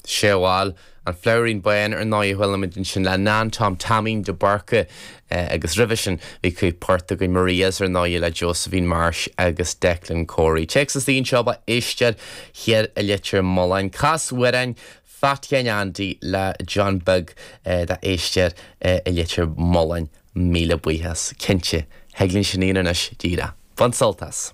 Sea bhail, An Flabhairín Bán ar ndóigh a chuala muid ansin le Nan Tom Taimín de Búrca agus roimhe sin bhí cúpla port againn Maria's ar ndóigh le Josephine Marsh agus Declan Corey. Téacs istigh anseo ba éisteoir thiar i Leitir Mealláin. Cas amhrán Phat Sheáin Andy le John Beag do éisteoir i Leitir Mealláin. Míle buíochas. Cinnte, thig linn sin a dhéanamh anois díreach. Bain sult as.